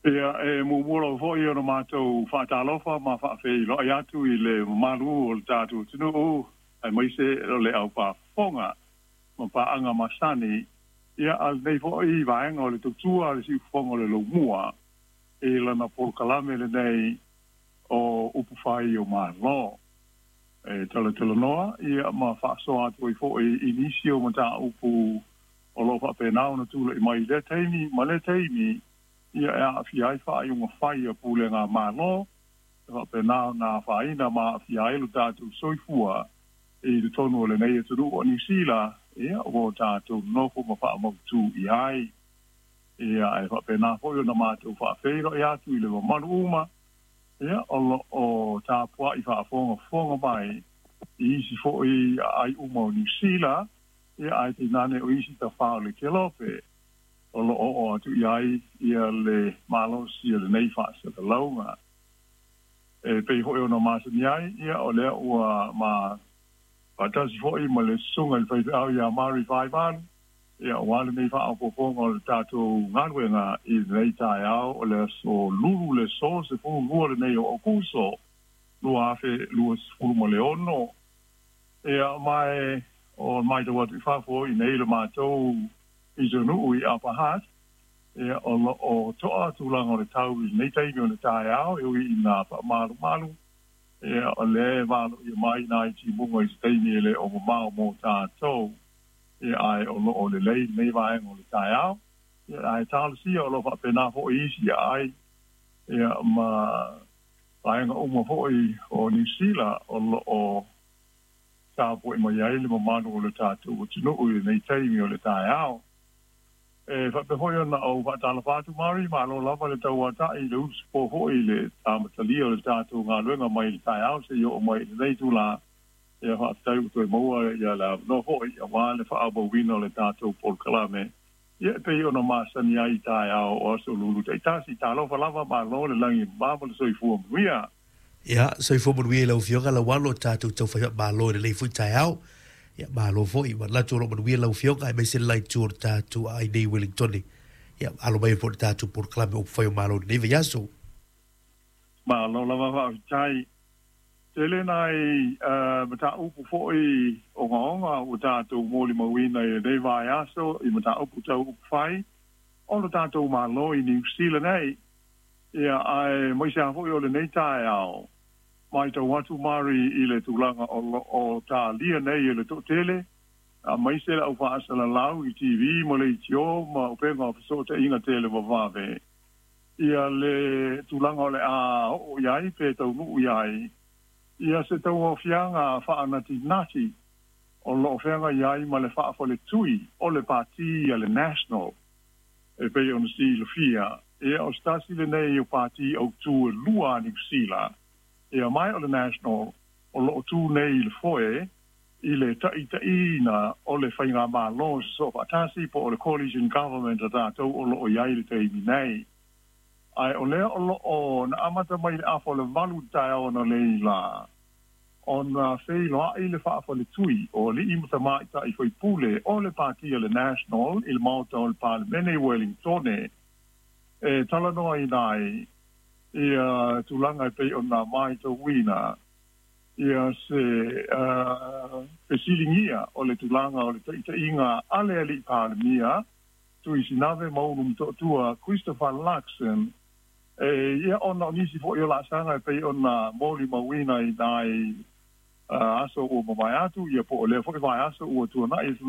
Ia, e muamua lava foi ona matou faatalofa ma faafeiloai atu i le mamalu o le tatou atunuu, aemaise o le aupaafofoga ma paaga masani, ia, a lenei foi vaega o le tautua a le Siufofoga o le Lomua i lana polokalame lenei o Upufai o Malo. E talatalanoa ia ma faasoa atu ai foi i nisi o mataupu o lo o faapena ona tulai mai i lea taimi ma lea taimi, ia e aafia ai faaiuga fai a pulega Malo, e faapena ona afaina ma aafia ai lo tatou soifua i totonu o lenei atunuu o Niu Sila, ia ua o tatou nofo ma faamautu i ai. Ia e faapena foi ona matou faafeiloai atu i le mamalu uma, ia o lo o tapuai faafogafoga mai i isi foi aai uma o Niu Sila, ia ae tainane o isi tafā o le Kelope o lo o oo atu i ai ia le malosi o lenei faasalalauga. E pei foi ona masani ai, ia o lea ua ma faatasi foi ma le susuga i le faifeau ia Mari Faivalu, ia aua lenei faaopoopoga o le tatou galuega i lenei taeao o le aso Lulu le aso 12 lenei o Aokuso 2026. Ia ma e o matau atu i fafo i nei le matou pitonuu i Upper Hutt, ia o lo o toa tulaga o le tau i lenei taimi o le taeao, e ui ina faamalumalu, ia o lea e valoia mai nai timuga i se taimi e le o mamao mo tatou, ia ae o lo o lelei lenei vaega o le taeao, ia ae talosia o lo o faapena foi isi aai, ia ma vaega uma foi o Niu Sila o lo o tapuai mai ai le mamalu o le tatou atunuu i lenei taimi o le taeao. E faapea foi ona ou faatalofa atu, Mari, malo lava le tauata'i i le usupo foi i le amatalia o le tatou galuega mai le taeao seia oo mai i lenei itulā. Ia faafetai ua toe maua ia le avanoa foi aua le faaauauina o le tatou polokalame, ia e pei ona masani ai i taeao o aso Lulu taitasi. Talofa lava, malo le lagi e mama ma le soifua manuia. Ia, soifua manuia i lau Afioga Laualo, tatou taufai faamalo i lenei foi taeao. Ia, malo foi, manatu o lo o manuia lau Afioga aemaise le la itu o le tatou aai nei i Wellingtone. Ia, alo mai foi le tatou polokalame o Upufai o Malo i lenei vaiaso. Malo lava faafetai. Tele nai mataupu foi ogaoga ua tatou molimauina i lenei vaiaso i mataupu tau upufai o lo tatou Malo i Niu Sila nei. Ia, aemaise lava foi o lenei taeao, matau atu Mari i le tulaga o lo o talia nei e le toatele, aemaise le au faasalalau i TV ma leitio ma upega o fesootaiga televavave, ia le tulaga o le a oo i ai pe taunuu i ai ia se tauaofiaga faanatinati o lo o feagai ai ma le faafaletui o le Pati a le National. E pei ona silafia, ia o se tasi lenei o pati autū e lua a Niu Sila, ia mai o le National o lo o tū nei i le foe i le taʻitaʻiina o le faigamalo sosoo faatasi po o le coalition government a tatou o lo o i ai i le taimi nei. Ae o lea o lo o na amata mai i le afa o le 8 i le taeao analeila, ona feiloai le faafaletui o alii ma tamaitai faipule o le Pati a le National i le Maota o le Palemene i Wellingtone e talanoaina ai ia tulaga e pei ona matauina ia se fesiligia o le tulaga o le taitaiga a le alii Palemia Tuisinave Maulu Motootua Christopher Luxon. E ia ona o nisi foi o laasaga e pei ona molimauina i nai aso ua mavae atu, ia po o lea foi vaiaso ua tuanai.